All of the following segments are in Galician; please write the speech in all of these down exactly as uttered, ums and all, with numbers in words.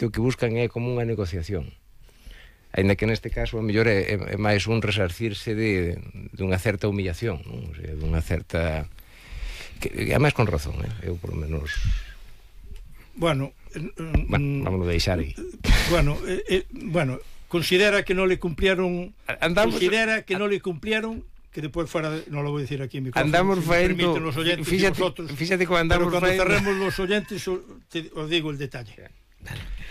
o que buscan é como unha negociación. Ainda que neste caso a mellor é, é máis un resarcirse de, de unha certa humillación, non? O sea, de unha certa... que é máis con razón, eh? Eu por lo menos... Bueno, bueno, vamos a deixar aí. Bueno, eh, eh, bueno, considera que non le cumplieron, andamos, considera que non le cumplieron, que despois fuera, de, non lo vou dicir aquí en micrófono, andamos si faendo, los oyentes fíxate, vosotros, fíxate como andamos pero cando faendo... cerremos los oyentes te, os digo el detalle.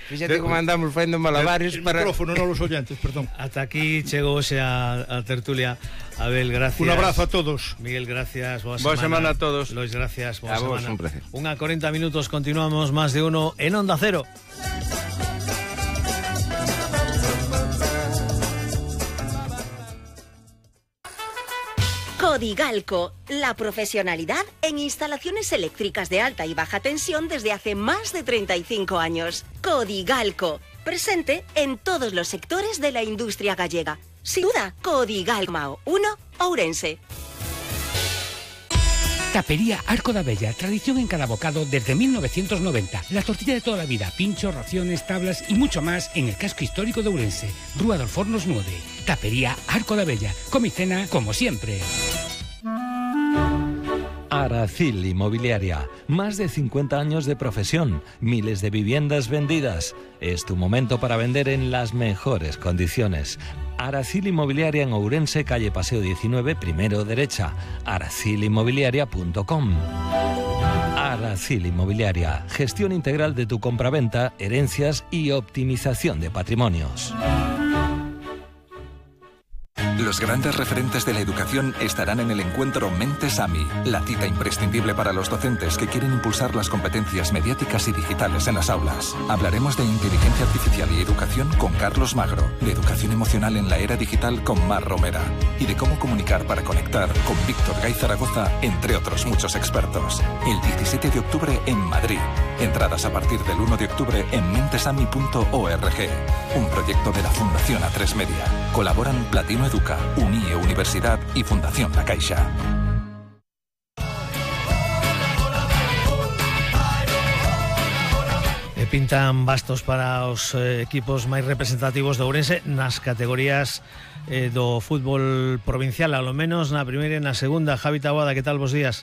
Fíxate como andamos faendo malabares el para... micrófono, non los oyentes, perdón. Ata aquí chegou a, a tertulia. Abel, gracias. Un abrazo a todos. Miguel, gracias. Boa, boa semana. semana a todos. Lois, gracias. Boa a vos, semana. un placer. Unha cuarenta minutos, continuamos más de uno en Onda Cero. Codigalco, la profesionalidad en instalaciones eléctricas de alta y baja tensión desde hace más de treinta y cinco años. Codigalco, presente en todos los sectores de la industria gallega. Sin duda, Codigalco uno, Ourense. Tapería Arco da Bella, tradición en cada bocado desde mil novecientos noventa. La tortilla de toda la vida, pinchos, raciones, tablas y mucho más en el casco histórico de Ourense. Rúa dos Fornos nueve. Tapería Arco da Bella. Come y cena como siempre. Aracil Inmobiliaria. Más de cincuenta años de profesión, miles de viviendas vendidas. Es tu momento para vender en las mejores condiciones. Aracil Inmobiliaria en Ourense, calle Paseo diecinueve, primero derecha. aracil inmobiliaria punto com. Aracil Inmobiliaria. Gestión integral de tu compraventa, herencias y optimización de patrimonios. Los grandes referentes de la educación estarán en el encuentro Mentes AMI, la cita imprescindible para los docentes que quieren impulsar las competencias mediáticas y digitales en las aulas. Hablaremos de inteligencia artificial y educación con Carlos Magro, de educación emocional en la era digital con Mar Romera y de cómo comunicar para conectar con Víctor Gay Zaragoza, entre otros muchos expertos. El diecisiete de octubre en Madrid. Entradas a partir del uno de octubre en mentesami punto org. Un proyecto de la Fundación A tres Media. Colaboran Platino Educa, UNIE Universidad y Fundación La Caixa. E pintan bastos para os eh, equipos máis representativos de Ourense nas categorías eh, do fútbol provincial, ao menos na primeira e na segunda. Javi Taboada, que tal? Bos días.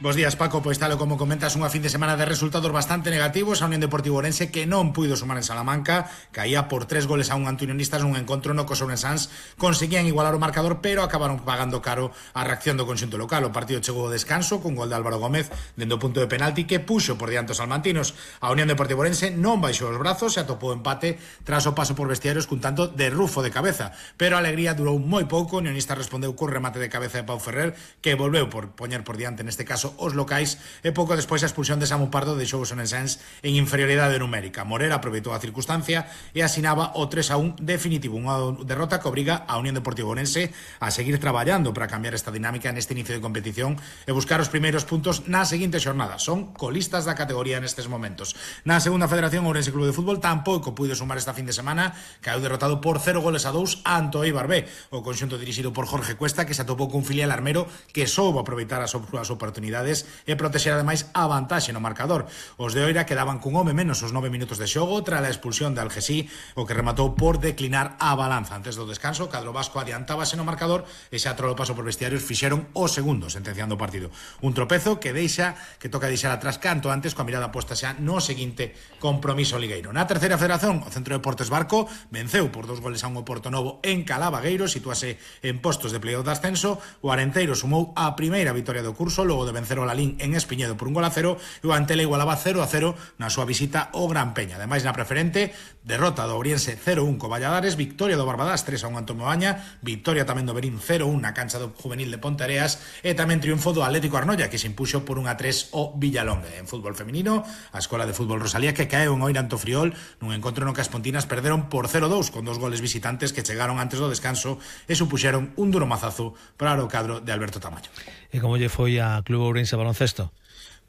Bos días, Paco. Pois tal como comentas, unha fin de semana de resultados bastante negativos. A Unión Deportiva Ourense, que non puido sumar en Salamanca, caía por tres goles a un Antunionistas nun encontro no que os ourensáns conseguían igualar o marcador, pero acabaron pagando caro a reacción do conxunto local. O partido chegou ao descanso con gol de Álvaro Gómez dende o punto de penalti que puxo por diante os salmantinos. A Unión Deportiva Ourense non baixou os brazos e atopou empate tras o paso por vestiarios cun tanto de Rufo de cabeza, pero a alegría durou moi pouco. O Unionista respondeu co remate de cabeza de Pau Ferrer, que volveu por poñer por diante neste caso os locais, e pouco despois a expulsión de Samu Pardo deixou os onensáns en inferioridade numérica. Morera aproveitou a circunstancia e asinaba o tres a un definitivo, unha derrota que obriga a Unión Deportiva Ourense a seguir traballando para cambiar esta dinámica neste inicio de competición e buscar os primeiros puntos na seguinte xornada. Son colistas da categoría nestes momentos. Na segunda federación, Ourense Club de Fútbol tampouco puido sumar esta fin de semana, caeu derrotado por cero goles a dous ante o Eibar B. O conxunto dirixido por Jorge Cuesta, que se atopou cun filial armero que soubo aproveitar as oportunidades e protexer ademais a vantaxe no marcador. Os de Oira quedaban cun home menos os nove minutos de xogo tras a expulsión de Algesí, o que rematou por declinar a balanza. Antes do descanso, o cadro vasco adiantábase no marcador e xa trolo paso por vestiarios fixeron o segundo, sentenciando o partido. Un tropezo que deixa que toca deixar atrás canto antes, coa mirada posta xa no seguinte compromiso ligueiro. Na terceira federación, o Centro de Deportes Barco venceu por dos goles a un o Porto Novo en Calabagueiro, situase en postos de playoff de ascenso. O Arenteiro sumou a primeira vitoria do curso logo de vencer o Lalín en Espiñedo por un gol a cero, e o Antela igualaba cero a cero na súa visita ao Gran Peña. Ademais, na preferente, derrota do Ouriense cero a un co Valladares, victoria do Barbadas tres a un ante o Moaña, victoria tamén do Berín cero a un na cancha do Juvenil de Ponteareas, e tamén triunfo do Atlético Arnoia, que se impuxo por un a tres o Villalonga. En fútbol feminino, a Escola de Fútbol Rosalía, que caeu en Oira ante o Friol nun encontro no que as pontinas perderon por cero a dous con dos goles visitantes que chegaron antes do descanso e supuxeron un duro mazazo para o cadro de Alberto Tamayo. E como lle foi a Club Ourense Baloncesto?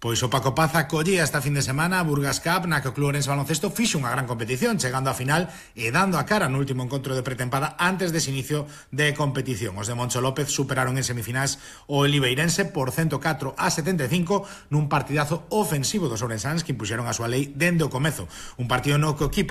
Pois o Paco Paz acollía esta fin de semana a Burgas Cup, na que o Club Ourense Baloncesto fixo unha gran competición, chegando á final e dando a cara no último encontro de pretempada antes dese inicio de competición. Os de Moncho López superaron en semifinais o Oliveirense por ciento catro a setenta e cinco nun partidazo ofensivo dos ourensáns que impuxeron a súa lei dende o comezo. Un partido no que o equipo